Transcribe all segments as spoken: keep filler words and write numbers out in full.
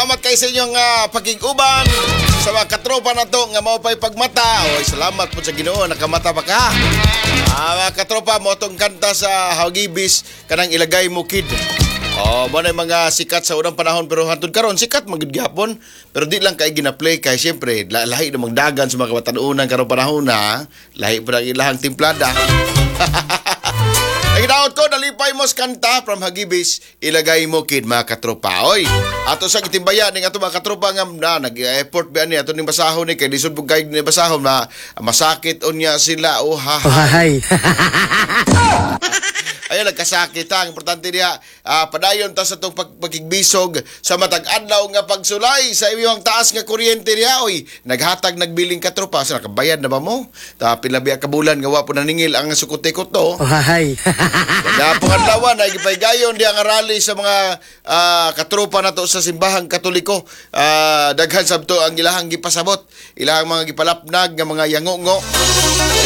Salamat kay sa inyong uh, pakig-uban sa mga katropa na to nga mao pa'y pagmata. Oy, salamat po sa Ginoo, nakamata pa ka. Ah, mga katropa, mo tong kanta sa Hagibis kanang "Ilagay Mo Kid". Oh, mo na yung mga sikat sa unang panahon, pero hantod karon sikat man gud gyapon. Pero di lang kay gina-play kay syempre la- lahi namang dagan sa mga kabatan-unan karong panahon na lahi pa ang ilahang timplada. Ang ginaot ko, nalipay mo sa kanta from Hagibis, "Ilagay Mo Kid", mga katropa. Oy, ato sa gitimbaya ning ato mga katropa nga na nag-effort ba ni ato ning basahon ni kay lisod pud kay ni basahon na masakit unya sila. Oh ha. Oh, hay. Ayun, nagkasakit ha. Ang importante niya, ah, padayon ta sa itong pag pagkigbisog sa matag adlaw nga pagsulay sa iyong taas nga kuryente niya. Oy, naghatag nagbiling katropa. Sa nakabayad na ba mo? Ta pila biya ka bulan nga wa po naningil ang sukote ko to. Oh, hay. Gapong adlaw na gipaygayon diha nga rally sa mga ah, katropa nato sa simbahang Katoliko. Ah, daghan sabto ang ilahang gipasabot, ilahang mga gipalapnag nga mga yangongo.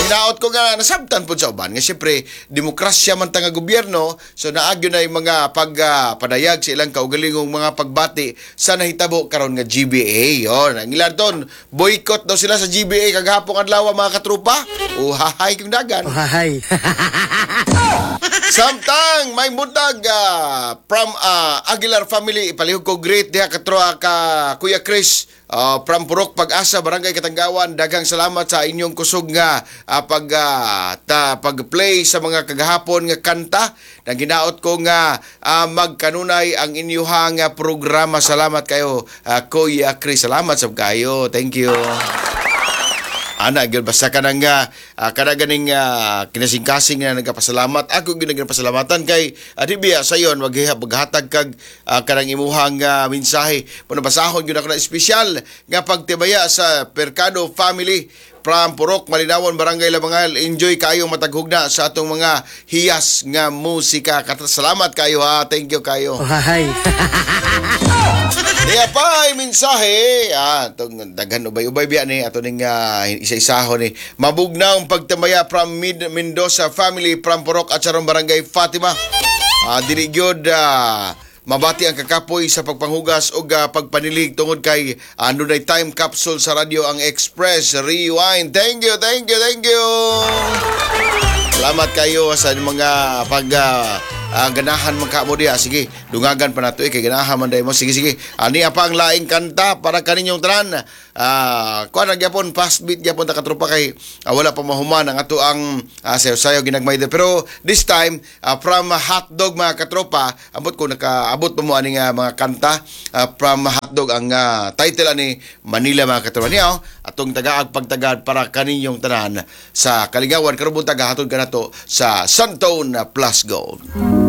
Hinaot ko nga nasabtan pud sa uban nga siyempre demokrasya man ta nga gobyerno, so naagyo na yung mga pag ah, padayag sa ilang kaugalingong mga pagbati sa nahitabo karon nga G B A. Yon, ang ilan ton, boycott daw sila sa G B A kagahapong adlaw, mga katropa. Uhahay kung dagan. Oh, hay. Samtang may buntag ah, from ah, Aguilar family, ipalihog ko great diha katroa ka Kuya Chris ah, from Purok Pag-asa, Barangay Katanggawan. Daghang salamat sa inyong kusog nga ah, pag ah, ta, pag-play sa mga kagahapon nga kanta. Nang ginaot ko nga ah, magkanunay ang inyuhang ah, programa. Salamat kayo, ah, Kuya Chris. Salamat sab kayo. Thank you. Ana gyud, basta kanang uh, kada ganing uh, kinasingkasing nga nagapasalamat, ako gyud nagapasalamatan kay uh, di biya sayon maghiha maghatag kag uh, kanang imuhang uh, mensahe mo. Basahon gyud ako na espesyal nga pagtibaya sa Percado family from Purok Malinawon, Barangay Labangal. Enjoy kayo mataghugna sa atong mga hiyas nga musika. Kat- Salamat kayo ha. Thank you kayo. Oh, hay. Diya pa ay mensahe, ah, tong daghan ubay-ubay biya ni ato ning uh, isa-isahon ni. Mabugnaw ang pagtamaya from Mid Mendoza family from Purok at Charon, Barangay Fatima. Ah, dili gyud ah, mabati ang kakapoy sa pagpanghugas o ah, pagpanilig tungod kay uh, dunay time capsule sa radyo ang Express Rewind. Thank you, thank you, thank you. Salamat kayo sa mga pag ah, ah, ganahan man ka mo diha. Sige, dungagan pa nato eh, kay ganahan man dahil mo. Sige, sige. Ani pa ang laing kanta para kaninyong tanan. Ah, kuan na gyapon, fast beat gyapon ta, katropa, kay ah, wala pa mahuman ang ato ang uh, sayo-sayo ginagmay. Pero this time ah, from Hotdog, mga katropa, ambot ko nakaabot pa mo ani nga mga kanta ah, from Hotdog, ang ah, title ani "Manila", mga katropa niya. Oh, atong tagaag pagtagad para kaninyong tanan sa kalingawan karong buntag, hatod kanato sa Santone Plus Gold.